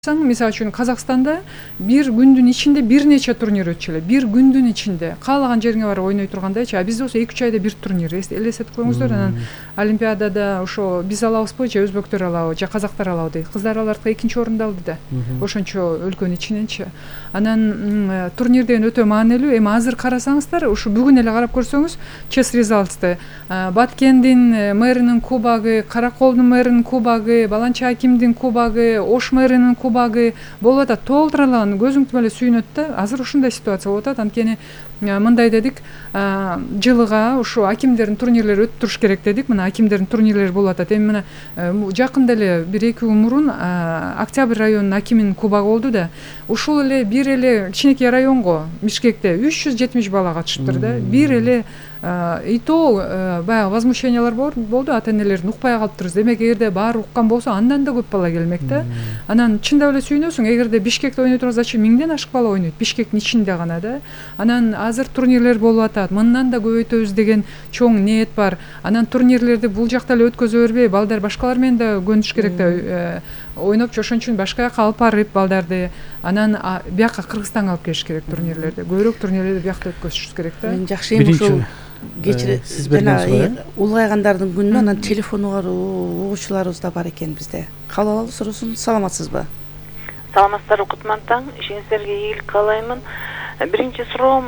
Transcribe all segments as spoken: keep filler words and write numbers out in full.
Мисалы үчүн Казакстанда бир күндүн ичинде бир нече турнир өтчү эле. Бир күндүн ичинде каалаган жериңе барып ойной тургандайчы. А бизде болсо эки үч айда бир турнир. Элестетип коюңуздар, анан Олимпиадада ошо биз алабызбы же өзбектөр алабы же казактар алабы дейт. Кыздар алардыкы экинчи орунду алды да. Ошончо өлкөнүн ичиненчи. Анан турнир деген өтө маанилүү. Эми азыр карасаңыздар, ушу бүгүн эле карап көрсөңүз, Chess Results'ты Баткендин мэринин кубогу, Караколдун мэринин кубогу, Баланча Акимдин кубогу, Ош мэринин кубогу болуп атат. Толтуралаган көзүң түбөлө сүйүнөт да. Азыр ушундай ситуация болуп атат. Анткени мындай дедик, жылыга ушу акимдердин турнирлери өтүп туруш керек дедик. Мына акимдердин турнирлери болуп атат. Эми мына жакында эле бир эки күн мурун Октябрь районунун акиминин кубогу болду да. Ушул эле бир эле кичинекей районго Бишкекте үч жүз жетимиш бала катышыптыр да. Бир эле и то баягы возмущениялар болду, ата энелердин укпай калыптырбыз. Демек, эгерде баары уккан болсо, андан да көп бала келмек да. Анан чындап эле сүйүнөсүң, эгерде Бишкекте ойной турган, зачем миңден ашык бала ойнойт Бишкектин ичинде гана да. Анан азыр турнирлер болуп атат. Мындан да көбөйтөбүз деген чоң ниет бар. Анан турнирлерди бул жакта эле өткөзө бербей, балдар башкалар менен да көнүш керек да. Ойноп, ошон үчүн башка жака алып барып балдарды, анан бияка Кыргызстанга алып келиш керек турнирлерди. Көбүрөөк турнирлерди биякта өткөзүш керек да. Мен жакшы эми ушул кечире жана улгайгандардын күнүнө анан телефону бар угуучуларыбыз да бар экен бизде. Кабыл алалы суроосун. Саламатсызбы? Саламатсыздарбы, кутман таң. Ишиңиздерге ийгилик каалаймын. Биринчи суроом,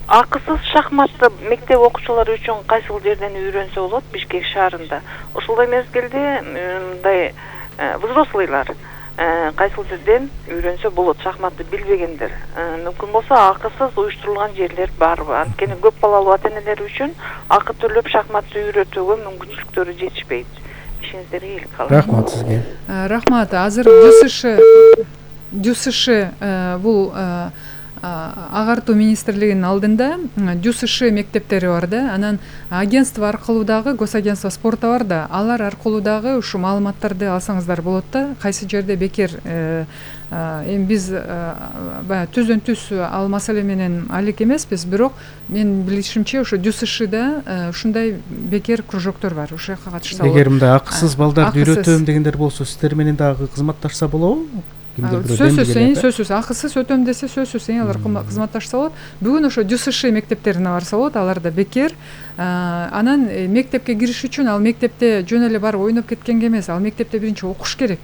акысыз шахматты мектеп окуучулары үчүн кайсыл жерден үйрөнсө болот Бишкек шаарында? Ошолдой мезгилде мындай взрослыйлар кайсыл жерден үйрөнсө болот шахматты билбегендер? Мүмкүн болсо акысыз уюштурулган жерлер барбы? Анткени көп балалуу ата энелер үчүн акы төлөп шахматты үйрөтүүгө мүмкүнчүлүктөрү жетишпейт. Ишиңиздерге ийгилик каалайм. Рахмат сизге. Рахмат. Азыр ДЮСШ ДЮСШ бул агартуу министрлигинин алдында ДЮСШ мектептери бар да. Анан агентство аркылуу дагы, госагентство спорта бар да. Алар аркылуу дагы ушу маалыматтарды алсаңыздар болот да. Кайсы жерде бекер эми биз баягы түздөн түз ал маселе менен алек эмеспиз, бирок мен билишимче ошо ДЮСШда ушундай бекер кружоктор бар. Ошол жака катышса болот. Эгер мындай акысыз балдарды үйрөтөм дегендер болсо, сиздер менен дагы кызматташса болобу? Сөзсүз, сөзсүз, акысыз өтөм десе сөзсүз, алар кызматташса болот. Бүгүн ошо ДЮСШ мектептерине барса болот, аларда бекер. Анан мектепке кириш үчүн ал мектепте жөн эле барып ойноп кеткенге эмес, ал мектепте биринчи окуш керек.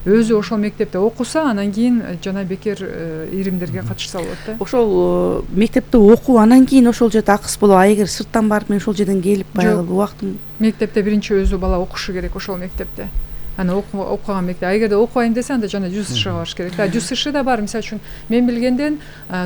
Өзү ошол мектепте окуса, анан кийин жана бекер иримдерге катышса болот да. Ошол мектепте окуу, анан кийин ошол жерде акысыз болот. А эгер сырттан барып мен ошол жерден келип баягы убактым, мектепте биринчи өзү бала окушу керек ошол мектепте. Аны окуган мектеп. А эгерде окубайм десе, анда жана ДЮСШга барыш керек. Да, ДЮСШ да бар. Мисалы үчүн мен билгенден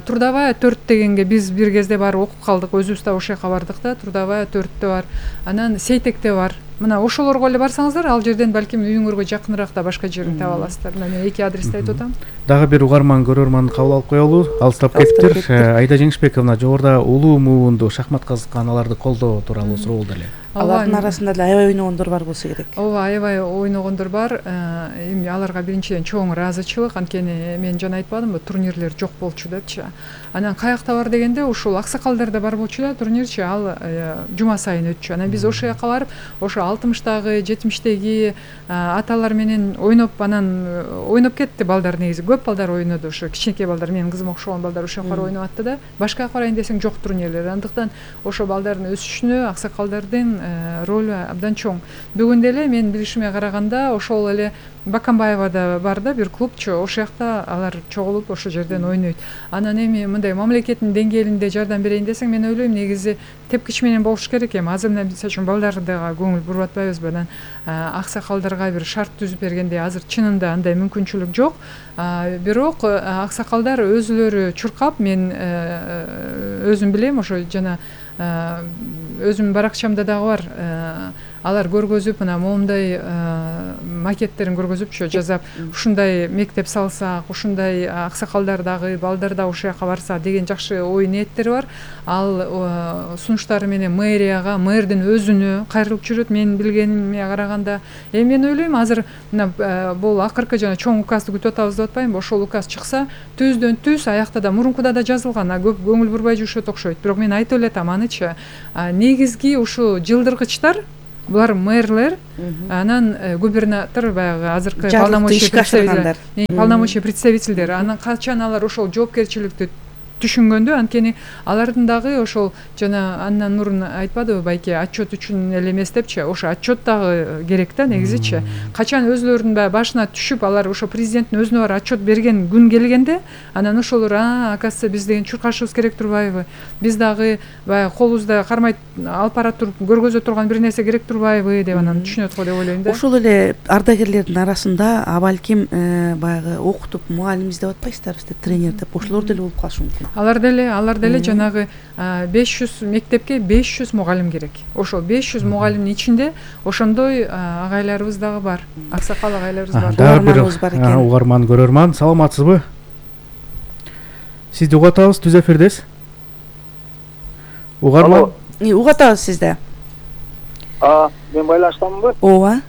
Трудовая төрт дегенге биз бир кезде барып окуп калдык. Өзүбүз да ошол жака бардык да. Трудовая төрттө бар. Анан Сейтекте бар. Мына ошолорго эле барсаңыздар, ал жерден балким үйүңөргө жакыныраак да башка жерин таба аласыздар. Мына мен эки адрести айтып атам. Дагы бир угарман көрөрман кабыл алып коелу. Алыстап кетиптир. Айда Жеңишбековна, жогоруда улуу муунду шахмат казыккан аларды колдоо тууралуу суроо болду эле. Алардын арасында эле аябай ойногондор бар болсо керек. Ооба, аябай ойногондор бар. Эми аларга биринчиден чоң ыраазычылык, анткени мен жана айтпадымбы, турнирлер жок болчу депчи. Анан каякта бар дегенде, ушул Аксакалдарда бар болчу да турнирчи, ал жума сайын өтчү. Анан биз ошол жака барып, ошо алтымыштагы, жетимиштеги аталар менен ойноп, анан ойноп кетти балдар негизи. Көп балдар ойноду, ошо кичинекей балдар, менин кызыма окшогон балдар ошол жака ойноп атты да. Башка жака барайын десең жок турнирлер. Андыктан ошо балдардын өсүшүнө Аксакалдардын ролу абдан чоң. Бүгүн деле мен билишиме караганда ошол эле Бакамбаевада бар да бир клубчу, ошол жакта алар чогулуп ошол жерден ойнойт. Анан эми мындай мамлекеттин деңгээлинде жардам берейин десең, мен ойлойм негизи тепкич менен болуш керек эми. Азыр мына мисалы үчүн балдарга көңүл буруп атпайбызбы? Анан аксакалдарга бир шарт түзүп бергенде азыр чынында андай мүмкүнчүлүк жок. Бирок аксакалдар өзүлөрү чуркап, мен өзүм билем, ошо жана өзүмдүн баракчамда дагы бар. Алар көргөзүп, мына моундай макеттерин көргөзүпчү, жазап, ушундай мектеп салсак, ушундай аксакалдар дагы, балдар да ошол жака барса деген жакшы ой ниеттери бар. Ал сунуштары менен мэрияга, мэрдин өзүнө кайрылып жүрөт, мен билгениме караганда. Эми мен ойлойм, азыр мына бул акыркы жана чоң указды күтүп атабыз деп атпаймынбы? Ошол указ чыкса, түздөн түз аякта да, мурункуда да жазылган, көп көңүл бурбай жүрүшөт окшойт. Бирок мен айтып эле атам анычы, негизги ушу жылдыргычтар булар мэрлер, анан губернатор баягы азыркы полномочий представитель полномочий представительдер, анан качан алар ошол жоопкерчиликти түшүнгөндө, анткени алардын дагы ошол жана андан мурун айтпадыбы байке отчет үчүн эле эмес депчи, ошо отчет дагы керек да негизичи. Качан өзлөрүнүн баягы башына түшүп, алар ошо президенттин өзүнө бар отчет берген күн келгенде, анан ошолор а оказывается биз деген чуркашыбыз керек турбайбы, биз дагы баягы колубузда кармай алып бара туруп көргөзө турган бир нерсе керек турбайбы деп анан түшүнөт го деп ойлойм да. Ошол эле ардагерлердин арасында а балким баягы окутуп мугалим издеп атпайсыздарбы, тренер деп, ошолор деле болуп калышы мүмкүн. Алар деле, алар деле жанагы беш жүз мектепке беш жүз мугалим керек. Ошол беш жүз мугалимдин ичинде ошондой агайларыбыз дагы бар. Аксакал агайларыбыз бар. Угарманыбыз бар экен. Угарман, көрөрман, саламатсызбы? Сизди угатабыз, түз эфирдесиз. Угарман. Угатабыз сизди. А, мен байланыштамынбы? Ооба.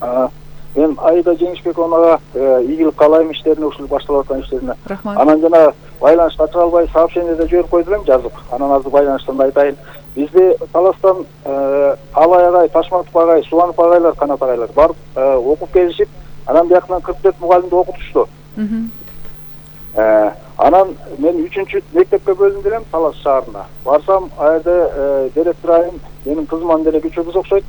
А, мен Айда Жеңишбековнага ийгилик каалайм иштерине, ушул башталып аткан иштерине. Рахмат. Анан жана байланышка чыга албай сообщениеде жиберип койду элем жазып. Анан азыр байланыштан айтайын. Бизде Таластан Алай агай, Ташматов агай, Субанов агайлар, Канат агайлар барып окуп келишип, анан бияктан кырк төрт мугалимди окутушту. Анан мен үчүнчү мектепке бөлүндүм элем Талас шаарына. Барсам, айда директор айым менин кызыман деле күчүбүз окшойт.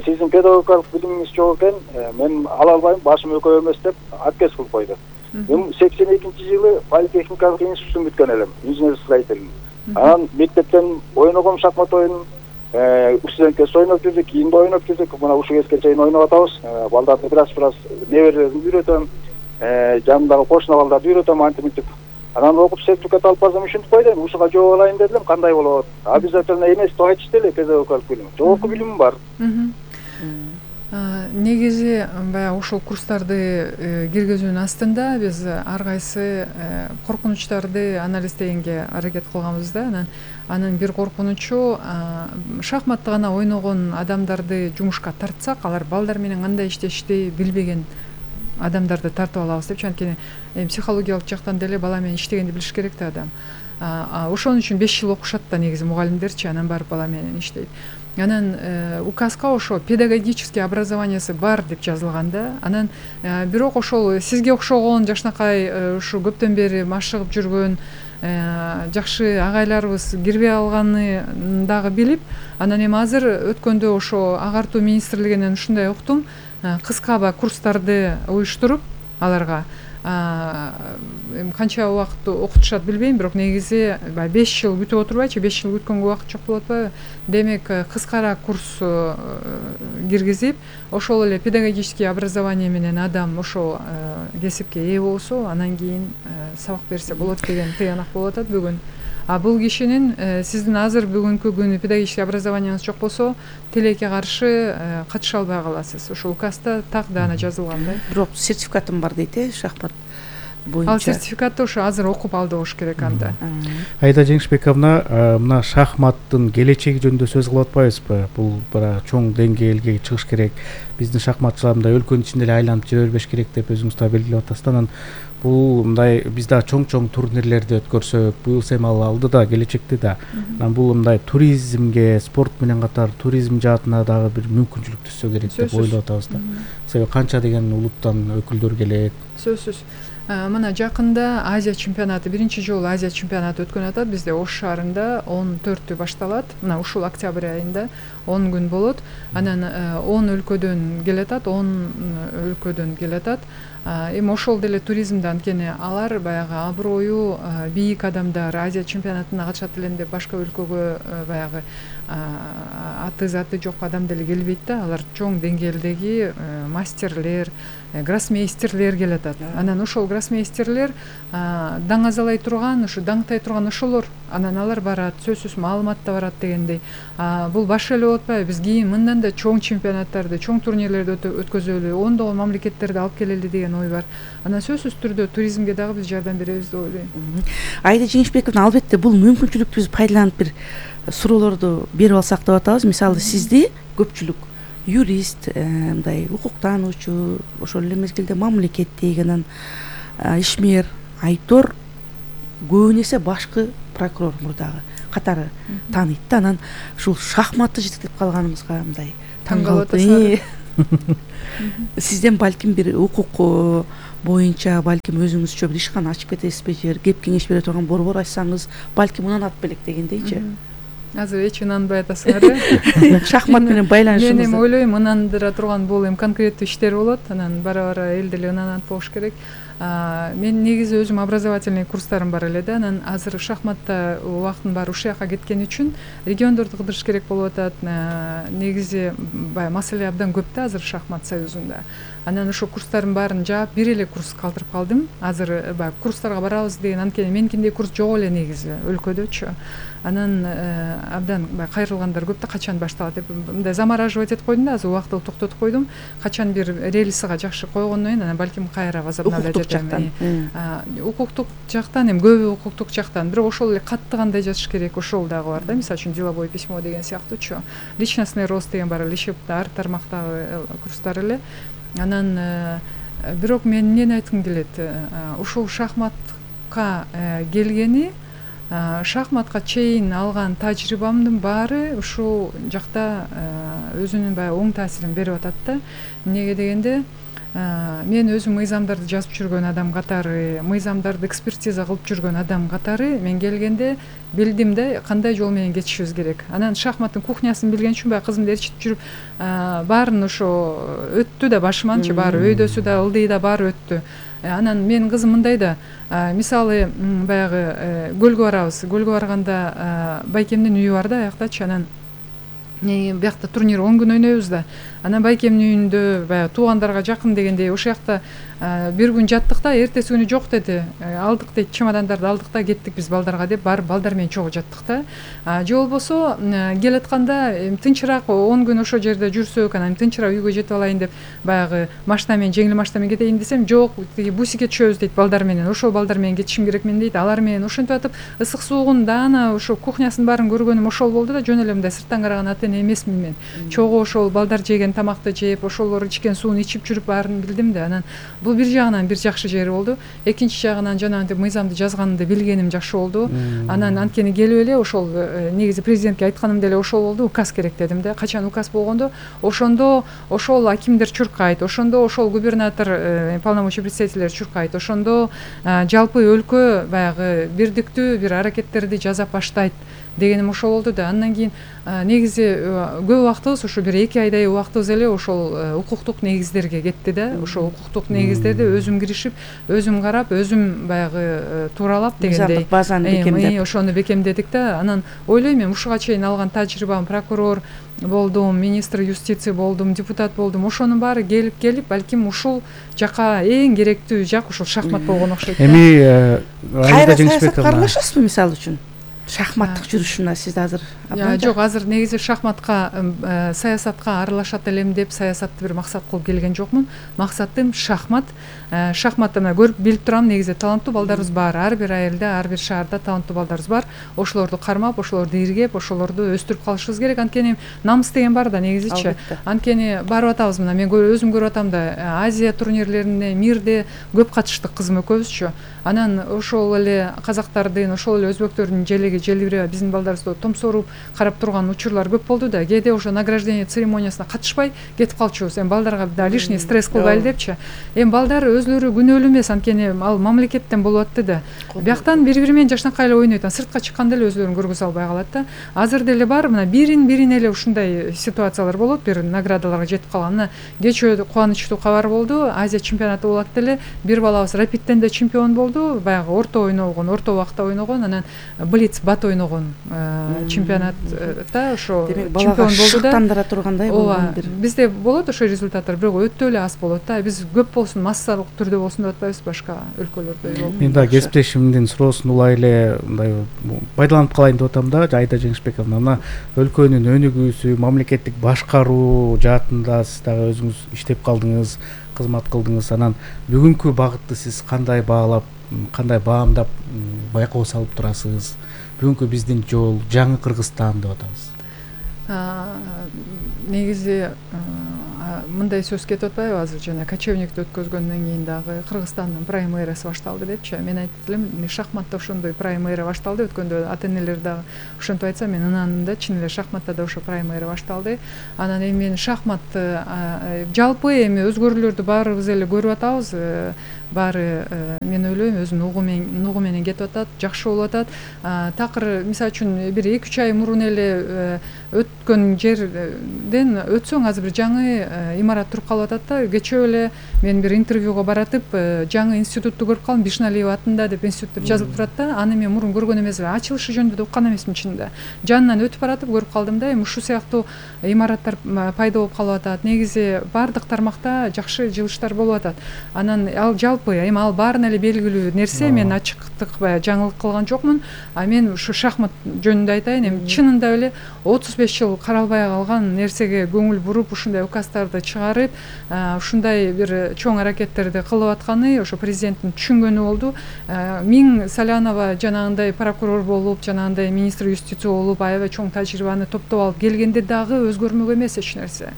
Сиздин педагогикалык билимиңиз жок экен, мен ала албайм, башым өкөй эмес деп отказ кылып койду. Мен сексен экинчи жылы политехникалык институттун бүткөн элем, инженер строитель. Анан мектептен ойногом шахмат оюнун, студентке ойноп жүрдүк, кийинде ойноп жүрдүк, мына ушул кезге чейин ойноп атабыз. Балдарды бираз-бираз неберелерин үйрөтөм, жанымдагы кошуна балдарды үйрөтөм антимитип. Анан окуп сертификат алып барсам ушинтип койдум, ушуга жооп алайын дедим, кандай болот? Обязательно эмес деп айтышты эле педагогикалык билим. Жогорку билимим бар. Негизи баягы ушул курстарды киргизүүнүн астында биз ар кайсы коркунучтарды анализдегенге аракет кылганбыз да. Анан анын бир коркунучу шахматты гана ойногон адамдарды жумушка тартсак, алар балдар менен кандай иштешти билбеген адамдарды тартып алабыз депчи. Анткени психологиялык жактан деле бала менен иштегенди билиш керек да адам. Ошон үчүн беш жыл окушат да негизи мугалимдерчи, анан барып бала менен иштейт. Анан указга ошо педагогический образованиясы бар деп жазылган да. Анан бирок ошол сизге окшогон жакшынакай ушу көптөн бери машыгып жүргөн жакшы агайларыбыз кирбей алганын дагы билип, анан эми азыр өткөндө ошо агартуу министрлигинен ушундай уктум, кыска ба курстарды уюштуруп аларга канча убакыт окутушат билбейм, бирок негизи беш жыл күтүп отурбайчы, беш жыл күткөнгө убакыт жок болот атпайбы? Демек кыскара курс киргизип, ошол эле педагогический образование менен адам ошол кесипке ээ болсо, анан кийин сабак берсе болот деген тыянак болуп атат бүгүн. А бул кишинин сиздин азыр бүгүнкү күнү педагогический образованияңыз жок болсо, тилекке каршы катыша албай каласыз. Ошол указда так да ана жазылган да. Бирок сертификатым бар дейт э, шахмат боюнча. Ал сертификатты ошо азыр окуп алды болуш керек анда. Айда Жеңишбековна, мына шахматтын келечеги жөнүндө сөз кылып атпайбызбы? Бул бара чоң деңгээлге чыгыш керек. Биздин шахматчылар мындай өлкөнүн ичинде эле айланып жүрө бербеш керек деп өзүңүз да белгилеп атасыз. Анан бул мындай биз да чоң-чоң турнирлерди өткөрсөк, бул эми ал алдыда, келечекте да. Анан бул мындай туризмге, спорт менен катар туризм жаатына дагы бир мүмкүнчүлүк түшсө керек деп ойлоп атабыз да. Себеби канча деген улуттан өкүлдөр келет. Сөзсүз. Мына жакында Азия чемпионаты, биринчи жолу Азия чемпионаты өткөн атат. Бизде Ош шаарында он төртү башталат. Мына ушул октябрь айында он күн болот. Анан он өлкөдөн келатат, он өлкөдөн келатат. Эми ошол деле туризмде, анткени алар баягы аброю бийик адамдар Азия чемпионатына катышат элем деп башка өлкөгө баягы аты заты жок адам деле келбейт да. Алар чоң деңгээлдеги мастерлер, гроссмейстерлер келатат. Анан ошол гроссмейстерлер даңазалай турган, ушу даңтай турган ошолор. Анан алар барат, сөзсүз маалымат да барат дегендей. Бул баш эле болуп атпайбы? Биз кийин мындан да чоң чемпионаттарды, чоң турнирлерди өткөзөлү, ондогон мамлекеттерди алып келели деген ой бар. Анан сөзсүз түрдө туризмге дагы биз жардам беребиз деп ойлойм. Айда Жеңишбековна, албетте бул мүмкүнчүлүктү биз пайдаланып бир суроолорду берип алсак деп атабыз. Мисалы, сизди көпчүлүк юрист, мындай укуктануучу, ошол эле мезгилде мамлекеттеги, анан ишмер, айтор, көбүн эсе башкы прокурор мурдагы. катары тааныйт да. Анан ушул шахматты жетектеп калганыбызга мындай таң калып атасыздар. Сизден балким бир укук боюнча балким өзүңүзчө бир ишкана ачып кетесизби, же кеп кеңеш бере турган борбор ачсаңыз балким унанат белек дегендейчи. Азыр эч ынанбай атасыңар э? Шахмат менен байланышыңызды. Мен эми ойлойм, ынандыра турган бул эми конкреттүү иштер болот, анан бара-бара эл деле ынанат болуш керек. Мен негизи өзүм образовательный курстарым бар эле да, анан азыр шахматта убактын баары ушул жака кеткен үчүн региондорду кыдырыш керек болуп атат. Негизи баягы маселе абдан көп да азыр шахмат союзунда. Анан ошо курстардын баарын жаап, бир эле курс калтырып калдым. Азыр баягы курстарга барабыз деген, анткени меникиндей курс жок эле негизи өлкөдөчү. Анан абдан баягы кайрылгандар көп да, качан башталат деп мындай замораживать этип койдум да, азыр убактылуу токтотуп койдум. Качан бир рельсига жакшы койгондон кийин анан балким кайра возобновлять этем. Укуктук жактан эми көбү укуктук жактан, бирок ошол эле катты кандай жазыш керек, ошол дагы бар да. Мисалы үчүн деловое письмо деген сыяктуучу. Личностный рост деген бар эле, ишепте ар тармактагы курстар эле. Анан бирок мен эмнени айткым келет, ушул шахматка келгени, шахматка чейин алган тажрыйбамдын баары ушул жакта өзүнүн баягы оң таасирин берип атат да. Эмнеге дегенде, мен өзүм мыйзамдарды жазып жүргөн адам катары, мыйзамдарды экспертиза кылып жүргөн адам катары мен келгенде билдим да кандай жол менен кетишибиз керек. Анан шахматтын кухнясын билген үчүн баягы кызымды ээрчитип жүрүп, баарын ошо өттү да башыманчы, баары өйдөсү да, ылдый да баары өттү. Анан менин кызым мындай да, мисалы баягы көлгө барабыз, көлгө барганда байкемдин үйү бар да аяктачы, анан биякта турнир он күн ойнойбуз да. Анан байкемдин үйүндө баягы туугандарга жакын дегендей ошол жакта бир күн жаттык да, эртеси күнү жок деди. Алдык дейт, чемодандарды алдык да кеттик биз балдарга деп барып балдар менен чогуу жаттык да. Же болбосо келатканда тынчыраак он күн ошол жерде жүрсөк, анан тынчыраак үйгө жетип алайын деп баягы машина менен, жеңил машина менен кетейин десем, жок, тиги бусикке түшөбүз дейт балдар менен. Ошол балдар менен кетишим керек мен дейт. Алар менен ошентип атып, ысык суугун даана ошо кухнясын баарын көргөнүм ошол болду да, жөн эле мындай сырттан караган ата эне эмесмин мен. Чогуу ошол балдар жеген тамакты жеп, ошолор ичкен сууну ичип жүрүп баарын билдим да. Анан бул бир жагынан бир жакшы жери болду. Экинчи жагынан жанагынтип мыйзамды жазганымды билгеним жакшы болду. Анан анткени келип эле ошол негизи президентке айтканым деле ошол болду. Указ керек дедим да. Качан указ болгондо, ошондо ошол акимдер чуркайт, ошондо ошол губернатор, полномочий представителер чуркайт, ошондо жалпы өлкө баягы бирдиктүү бир аракеттерди жасап баштайт дегеним ошол болду да. Андан кийин негизи көп убактыбыз ошо бир эки айдай убактыбыз эле ошол укуктук негиздерге кетти да. Ошол укуктук негиздерди өзүм киришип, өзүм карап, өзүм баягы тууралап дегендей базаны бекемдеп ошону бекемдедик да. Анан ойлойм мен ушуга чейин алган тажрыйбам, прокурор болдум, министр юстиция болдум, депутат болдум. Ошонун баары келип келип, балким ушул жака эң керектүү жак ушул шахмат болгон окшойт. Эми кайра саясатка аралашасызбы мисалы үчүн? Шахматтык жүрүшүнө сиз азыр? Жок, азыр негизи шахматка, саясатка аралашат элем деп саясатты бир максат кылып келген жокмун. Максатым шахмат. Шахматты мына көрүп билип турам, негизи таланттуу балдарыбыз бар. Ар бир айылда, ар бир шаарда таланттуу балдарыбыз бар. Ошолорду кармап, ошолорду иргеп, ошолорду өстүрүп калышыбыз керек. Анткени намыс деген бар да негизичи. Анткени барып атабыз, мына мен өзүм көрүп атам да, Азия турнирлерине, мирде көп катыштык кызым экөөбүзчү. Анан ошол эле казактардын, ошол эле өзбектөрдүн желеги желбиреп, биздин балдарыбызды томсоруп карап турган учурлар көп болду да. Кээде ошо награждение церемониясына катышпай кетип калчубуз. Эми балдарга да лишний стресс кылбайлы депчи. Эми балдар өзлөрү күнөөлүү эмес, анткени ал мамлекеттен болуп атты да. Бияктан бири-бири менен жашнакай эле ойнойт, сыртка чыкканда эле өзлөрүн көргөзө албай калат да. Азыр деле бар, мына бирин бирин эле ушундай ситуациялар болот, бир наградаларга жетип калган. Мына кечээ кубанычтуу кабар болду, Азия чемпионаты болот деле, бир балабыз рапидтен да чемпион болду, баягы орто ойногон, орто убакта ойногон, анан блиц бат ойногон чемпионатта ошо чемпион болду да. Шыктандыра тургандай болгон бир. Бизде болот ошо результаттар, бирок өтө эле аз болот да. Биз көп болсун, массалык түрдө болсун деп атпайбыз, башка өлкөлөрдө болот. Мен да кесиптешимдин суроосун улай эле мындай пайдаланып калайын деп атам да, Айда Жеңишбековна. Мына өлкөнүн өнүгүүсү, мамлекеттик башкаруу жаатында сиз дагы өзүңүз иштеп калдыңыз, кызмат кылдыңыз. Анан бүгүнкү багытты сиз кандай баалап, кандай баамдап байкоо салып турасыз? Бүгүнкү биздин жол жаңы Кыргызстан деп атабыз. Негизи мындай сөз кетип атпайбы азыр жана кочевникти өткөзгөндөн кийин дагы Кыргызстандын праймерасы башталды депчи. Мен айтып элем шахматта ошондой праймера башталды. Өткөндө ата энелер дагы ошентип айтса мен ынандым да, чын эле шахматта да ошо праймера башталды. Анан эми мен шахмат жалпы эми өзгөрүүлөрдү баарыбыз эле көрүп атабыз. Баары мен ойлойм өзүнүн угу менен угу менен кетип атат, жакшы болуп атат. Такыр мисалы үчүн бир эки үч ай мурун эле өткөн жерден өтсөң азыр бир жаңы имарат туруп калып атат да. Кечээ эле мен бир интервьюга баратып жаңы институтту көрүп калдым, Бишналиева атында деп институт деп жазылып турат да. Аны мен мурун көргөн эмесмин, ачылышы жөнүндө да уккан эмесмин чынында. Жанынан өтүп баратып көрүп калдым да, эми ушул сыяктуу имараттар пайда болуп калып атат. Негизи баардык тармакта жакшы жылыштар болуп атат. Анан ал жалпы эми ал баарына эле белгилүү нерсе, мен ачыктык баягы жаңылык кылган жокмун. А мен ушу шахмат жөнүндө айтайын, эми чынында эле отуз беш жыл каралбай калган нерсеге көңүл буруп, ушундай указдарды чыгарып, ушундай бир чоң аракеттерди кылып атканы ошо президенттин түшүнгөнү болду. Миң Салянова жанагындай прокурор болуп, жанагындай министр юстиция болуп, аябай чоң тажрыйбаны топтоп алып келгенде дагы өзгөрмөк эмес эч нерсе.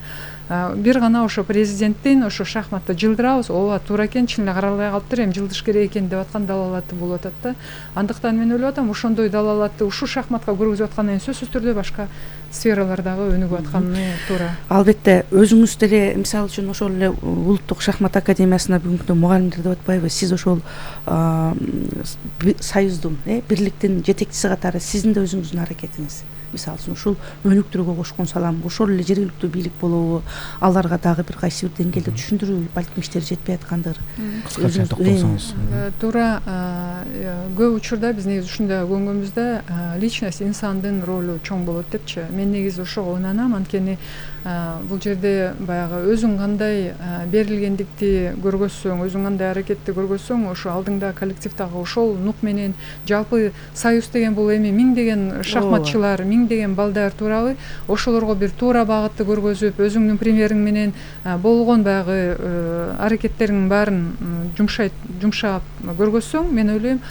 Бир гана ошо президенттин ошо шахматта жылдырабыз, ооба туура экен, чын эле каралбай калыптыр, эми жылдыш керек экен деп аткан далалаты болуп атат да. Андыктан мен ойлоп атам, ошондой далалатты ушул шахматка көргөзүп аткандан кийин сөзсүз түрдө башка сфералардагы өнүгүп атканы туура. Албетте, өзүңүз деле мисалы үчүн ошол эле Улуттук шахмат академиясына бүгүнкү күндө мугалимдер деп атпайбы, сиз ошол союздун, бирликтин жетекчиси катары сиздин да өзүңүздүн аракетиңиз. Мисалы үчүн ушул өнүктүрүүгө кошкон салам, ошол эле жергиликтүү бийлик болобу, аларга дагы бир кайсы бир деңгээлде түшүндүрүү балким иштери жетпей аткандыр. Кыскача токтолсоңуз. Туура, көп учурда биз негизи ушундай көнгөнбүз да, личность, инсандын ролу чоң болот депчи. Мен негизи ошого ынанам, анткени бул жерде баягы өзүң кандай берилгендикти көргөзсөң, өзүң кандай аракетти көргөзсөң, ошо алдыңда коллективдагы ошол нук менен жалпы союз деген бул эми миңдеген шахматчылар, миңдеген балдар туурабы, ошолорго бир туура багытты көргөзүп, өзүңдүн примериң менен болгон баягы аракеттериңдин баарын жумшайт, жумшап көргөзсөң, мен ойлойм,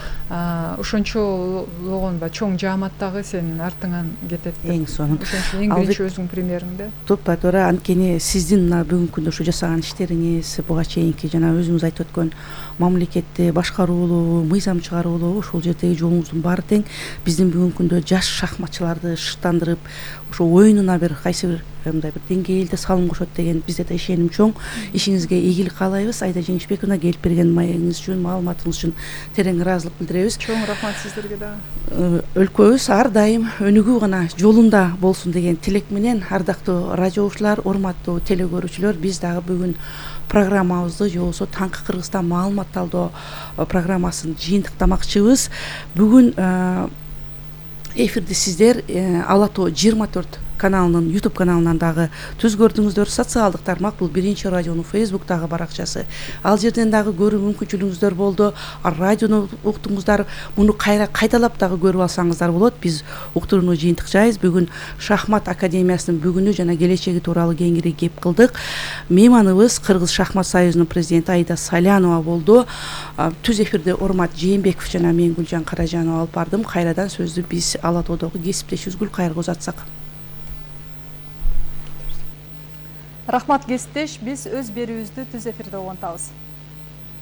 ошончологон ба чоң жаамат дагы сенин артыңан кетет деп. Эң сонун. Ошон эң биринчи өзүңдүн примериңде. Тупа туура, анткени сиздин мына бүгүнкү күндө ушу жасаган иштериңиз, буга чейинки жана өзүңүз айтып өткөн мамлекетти башкаруулуу, мыйзам чыгаруулуу, ушул жердеги жолуңуздун баары тең. Биздин бүгүнкү күндө жаш шахматчыларды шыктандырып, ошо оюнуна бир кайсы бир мындай бир деңгээлде салым кошот деген бизде да ишеним чоң. Ишиңизге ийгилик каалайбыз. Айда Жеңишбековна келип берген маегиңиз үчүн, маалыматыңыз үчүн терең ыраазылык билдиребиз. Чоң рахмат сиздерге дагы. Өлкөбүз ар дайым өнүгүү гана жолунда болсун деген тилек менен, ардактуу радио угуучулар, урматтуу теле көрүүчүлөр, биз дагы бүгүн программабызды, же болбосо Таңкы Кыргызстан маалымат талдоо программасын жыйынтыктамакчыбыз. Бүгүн эфирди сиздер Ала тоо жыйырма төрт каналынын YouTube каналынан дагы түз көрдүңүздөр. Социалдык тармак бул биринчи радионун Facebook'тагы баракчасы. Ал жерден дагы көрүү мүмкүнчүлүгүңүздөр болду. Радиону уктуңуздар, муну кайра кайталап дагы көрүп алсаңыздар болот. Биз уктурууну жыйынтыкчайбыз. Бүгүн Шахмат академиясынын бүгүнү жана келечеги тууралуу кеңири кеп кылдык. Мейманыбыз Кыргыз шахмат союзунун президенти Аида Салянова болду. Түз эфирде Урмат Жээнбеков жана мен Гүлжан Каражанова алып бардым. Кайрадан сөздү биз Ала тоодогу кесиптешибиз Гүлкайырга узатсак. Рахмат кесиптеш, биз өз берүүбүздү түз эфирде улантабыз.